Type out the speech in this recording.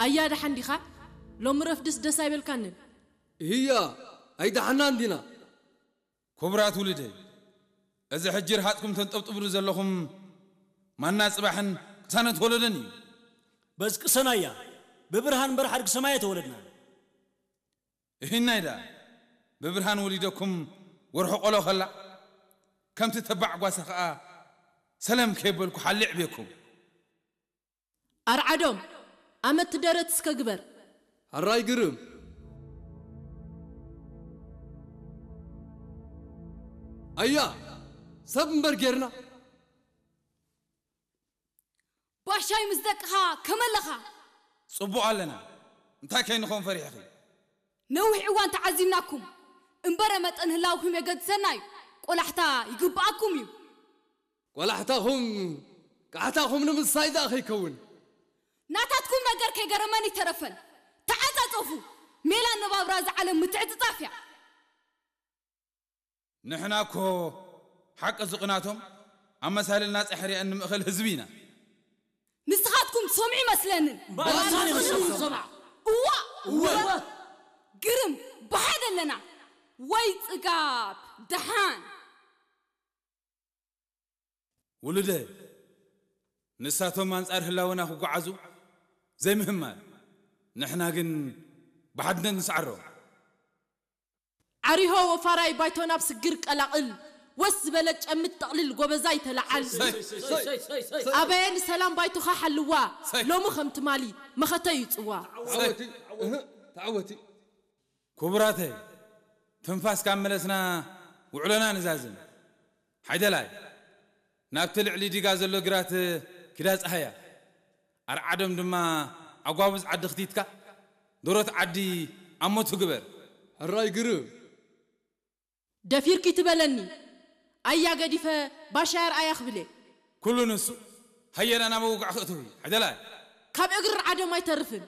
ኣያ ደሓን ዲኻ? ሎሚ ረፍድስ ደስ ኣይበልካንን። እያ ኣይደሓናን ዲና። ክቡራት ውሉደይ፣ እዚ ሕጂ ርሃጽኩም ተንጠብጥብሉ ዘለኹም ማና ጽባሕን ቅሳነት ወለደን እዩ። በዚ ቅሰናያ ብብርሃን እምበር ሓድጊ ሰማይ ኣይተወለድና። እሂናይ ደኣ ብብርሃን ወሊደኩም ወርሒ ቆሎ ከላ ከምቲ ተባዕ ጓሳ ከኣ ሰለም ከየበልኩ ሓሊዕ ቤኩም። ኣርዓዶም ኣመት ደረት እስከ ግበር። ሕራይ ግርም። ኣያ ሰብ እምበር ጌርና። ባሻይ ምስ ደቅኻ ከመለኻ? ጽቡቕ ኣለና። እንታይ ከይንኾን ፈሪሕኺ? ነዊሕ እዋን ተዓዚብናኩም እምበረ መጠን ህላውኩም የገድሰና እዩ። ቆላሕታ ይግብኣኩም እዩ። ቆላሕታኹም ቃሕታኹም ንምሳይ ደኣ ከይከውን። ናታትኩም ነገር ከይገረመን ይተረፈን። ተዓጻጸፉ። ሜላ ነባብራ እዚ ዓለም ምትዕጽጻፍ እያ። ንሕና እኮ ሓቂ ዝቕናቶም ኣመሳልልና ጻሕርያ እንምእኸል ህዝቢ ኢና። ንስኻትኩም ትሰምዑ ይመስለንን። ባእሳን ይመስለኩም። እዋ እዋ ግርም ብሓደ ኣለና። ወይ ጽጋብ ደሓን። ውሉደ ንሳቶም ኣንጻር ህላወና ክጓዓዙ ዘይምህማል፣ ንሕና ግን ብሓድነት ንስዓሮም። ዓሪሆ ወፋራይ ባይቶ ናብ ስግር ቀላቕል። ወስ ዝበለ ጨምት ጠቕልል ጎበዛይ ተለዓል። ኣበየ ንሰላም ባይቶኻ ሓልዋ። ሎሚ ከም ትማሊ መኸተ እዩ ጽዋ። ተዓወቲ እህ፣ ተዓወቲ። ክቡራተይ፣ ትንፋስ ካብ መለስና ውዕሎና ንዛዝም። ሓይደላይ ናብቲ ልዕሊ ዲጋ ዘሎ ግራት ኪዳ ጸሃያ፣ ኣርዓዶም ድማ ኣጓብዝ ዓዲ ክቲትካ ዶሮት ዓዲ ኣሞቱ ግበር። ሕራይ ግርም። ደፊርኪ ትበለኒ ኣያ ገዲፈ ባሻ ኣርኣያ ክብሌ። ኩሉ ንሱ ሃየና ናብ ውግዕ ክእትዊ ሓይደላይ። ካብ እግሪ ዓደም ኣይተርፍን።